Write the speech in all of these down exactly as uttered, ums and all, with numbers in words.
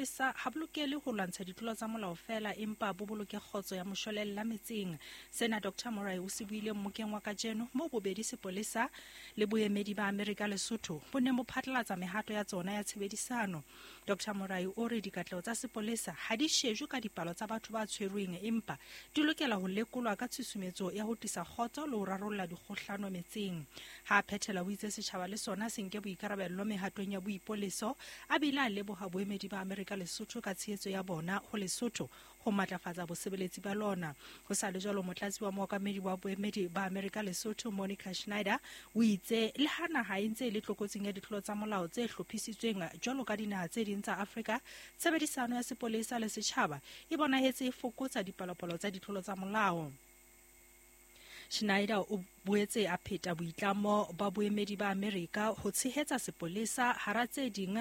sepolesa ha bo lokele ho lwantsha ditlolo tsa molao feela empa bo boloke kgotso ya moshwelella metseng. Sena Doctor Morai o se buile mmokeng wa kajeno moo bobedi sepolesa le boemedi ba Amerika Lesotho bo neng bo phatlalatsa mehato ya tsona ya tshebedisano. Doctor Morai o re dikatleho tsa sepolesa ha di shejwe ka dipalo tsa batho ba tshwerweng empa di lokela ho lekolwa ka tshusumetso ya ho tlisa kgotso le ho rarolla dikgohlano metseng. Ha a phethela o itse setjhaba le sona se nke boikarabello mehatong ya boipoleso, a bile a leboha boemedi ba Amerika Lesotho ka tshehetso ya bona ho Lesotho ho matlafatsa bosebeletsi ba lona. Ho sa le jwalo, motlatsi wa mookamedi wa boemedi ba Amerika Lesotho Monica Schneider o itse le ha naha e ntse e le tlokotsing ya ditlolo tsa molao tse hlophisitsweng jwalo ka dinaha tse ding tsa Afrika, tshebedisano ya sepolesa le setjhaba e bonahetse e fokotsa dipalopalo tsa ditlolo tsa molao. Schneider o boetse a pheta boitlamo ba boemedi ba Amerika ho tshehetsa sepolesa hara tse ding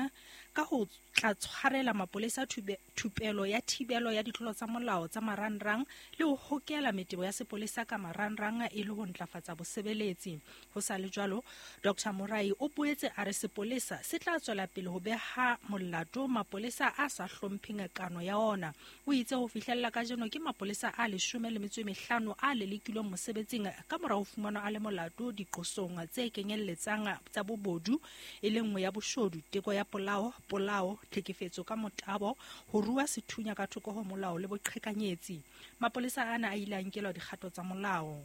ka ho tla tshwarela mapolesa thupelo ya thibelo ya ditlolo tsa molao tsa marangrang le ho hokela metebo ya sepolesa ka marangrang e le ho ntlafatsa bosebeletsi. Ho sa le jwalo, Doctor Morai o boetse a re sepolesa se tla tswela pele ho beha molato mapolesa a sa hlompheng kano ya ona. O itse ho fihlella kajeno ke mapolesa a leshome le metso e mehlano a lelekilweng mosebetsing ka mora ho fumanwa a le molato diqosong tse kenyelletsang tsa bobodu, e le nngwe ya boshodu, teko ya polao, polao, tlhekefetso ka motabo, ho rua sethunya ka thoko ho molao le boqhekanyetsi. Mapolesa ana a ile a nkelwa dikgato tsa molao.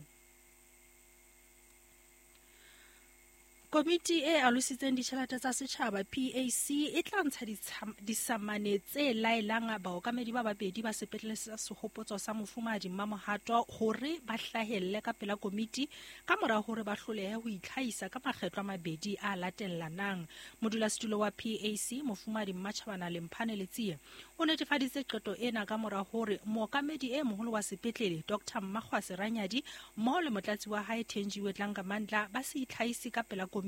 Komiti e alositseng ditjhelete tsa setjhaba P A C e tla ntsha disamane tse laelang baokamedi ba babedi ba sepetlele sa Sehopotso sa Mofumahadi Mmamohato hore ba hlahelle ka pela komiti ka mora hore ba hlolehe ho itlhahisa ka makgetlo a mabedi a latellanang. Modulasetulo wa P A C Mofumahadi Mmatjhabana Lemphane Letsie o netefaditse qeto ena ka mora hore mookamedi e moholo wa sepetlele Doctor Mmakgwase Ranyadi mmoho le motlatsi wa hae Thenjiwe Dlangamandla ba se itlhahise ka pela komiti.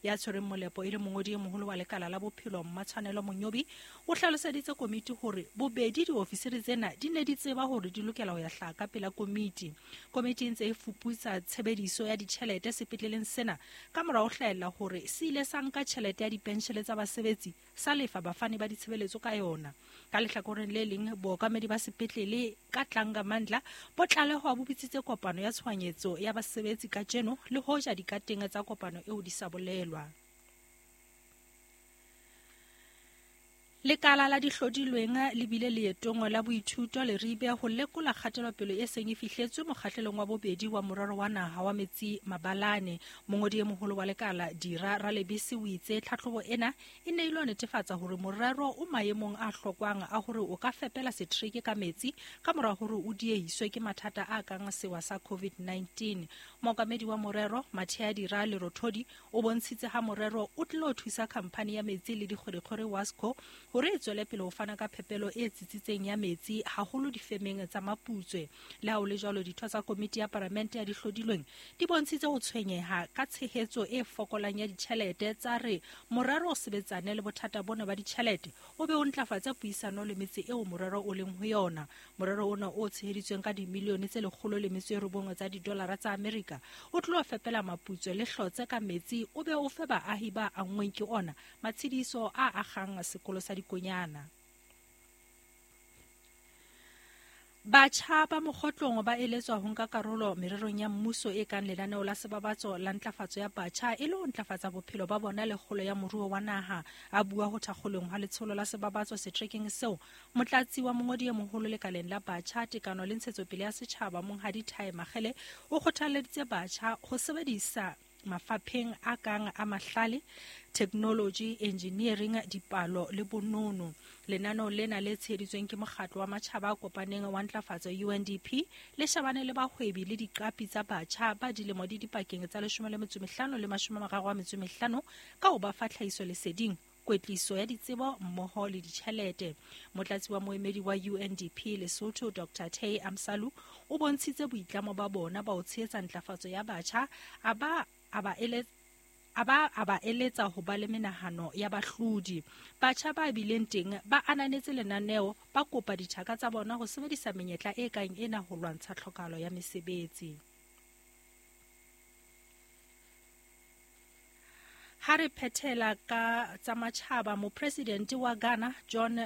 Ya tshwereng molepo e le mongodi e moholo wa lekala la bophelo Mmatshwanelo Monyobi o hlaloseditse komiti hore bobedi diofisiri tsena di ne di tseba hore di lokela ho ya hlaha ka pela komiti. Komiti e ntse e fuputsa tshebediso ya ditjhelete sepetleleng sena ka mora ho hlahella hore se ile sa nka tjhelete ya dipenshele tsa basebetsi sa lefa bafani ba ditshebeletso ka yona. Ka lehlakoreng le leng, bookamedi ba sepetlele ka Dlangamandla bo tlalehwa bo bitsitse kopano ya tshohanyetso ya basebetsi kajeno le hoja dikateng tsa kopano eo di sa bolelwa. Lekala la dihlodilweng le bile leetong la boithuto Leribe ho lekola kgatelopele e seng e fihletswe mokgahlelong wa bobedi wa morero wa naha wa metsi Mabalane. Mongodi e moholo wa lekala Dira Ralebese o itse tlhatlhobo ena e ne ile netefatsa hore morero o maemong a hlokwang a hore o ka fepela setereke ka metsi ka mora hore o diehiswe ke mathata a kang sewa sa COVID nineteen. Mookamedi wa morero Mathea Dira Lerothodi o bontshitse ha morero o tlilo thusa khamphani ya metsi le dikgwerekgwere Wasco hore e tswele pele ho fana ka phepelo e tsitsitseng ya metsi haholo difemeng tsa Maputswe. Le ha ho le jwalo, ditho tsa komiti ya palamente ya dihlodilweng di bontshitse ho tshwenyeha ka tshehetso e fokolang ya ditjhelete tsa re morero o sebetsane le bothata bona ba ditjhelete o be o ntlafatse puisano le metse eo morero o leng ho yona. Morero ona o tsheheditsweng ka dimilione tse lekgolo le metso e robong tsa didolara tsa Amerika o tlo fepela Maputswe le Hlotse ka metsi o be o fe baahi ba anngweng ke ona matshediso a akgang sekolo sa dikonyana. Batjha ba mokgotlong ba eletswa ho nka karolo mererong ya mmuso e kang lenaneo la sebabatso la ntlafatso ya batjha e le ho ntlafatsa bophelo ba bona le kgolo ya moruo wa naha. A bua ho thakgolong ha letsholo la sebabatso setrekeng seo, motlatsi wa mongodi e moholo lekaleng la batjha, tekano le ntshetsopele ya setjhaba Monghadi Thai Makgele o kgothalleditse batjha ho sebedisa mafapheng a kang a mahlale, technology, engineering, dipalo le bonono. Lenaneo lena le tsheheditsweng ke mokgatlo wa matjhaba a kopaneng wa ntlafatso U N D P le shebane le bahwebi le diqapi tsa batjha ba dilemo di dipakeng tsa leshome le metso e mehlano le mashome a mararo a metso e mehlano ka ho ba fa tlhahiso leseding, kwetliso ya ditsebo mmoho le ditjhelete. Motlatsi wa moemedi wa U N D P Lesotho Doctor Tay Amsalu o bontshitse boitlamo ba bona ba ho tshehetsa ntlafatso ya batjha a ba a ba eletsa a ba a ba eletsa ho ba le menahano ya bahlodi. Batjha ba bileng teng ba ananetse lenaneo, ba kopa dithaka tsa bona ho sebedisa menyetla e kang ena ho lwantsha tlhokahalo ya mesebetsi. Ha re phethela ka tsa matjhaba, mopresidente wa Ghana John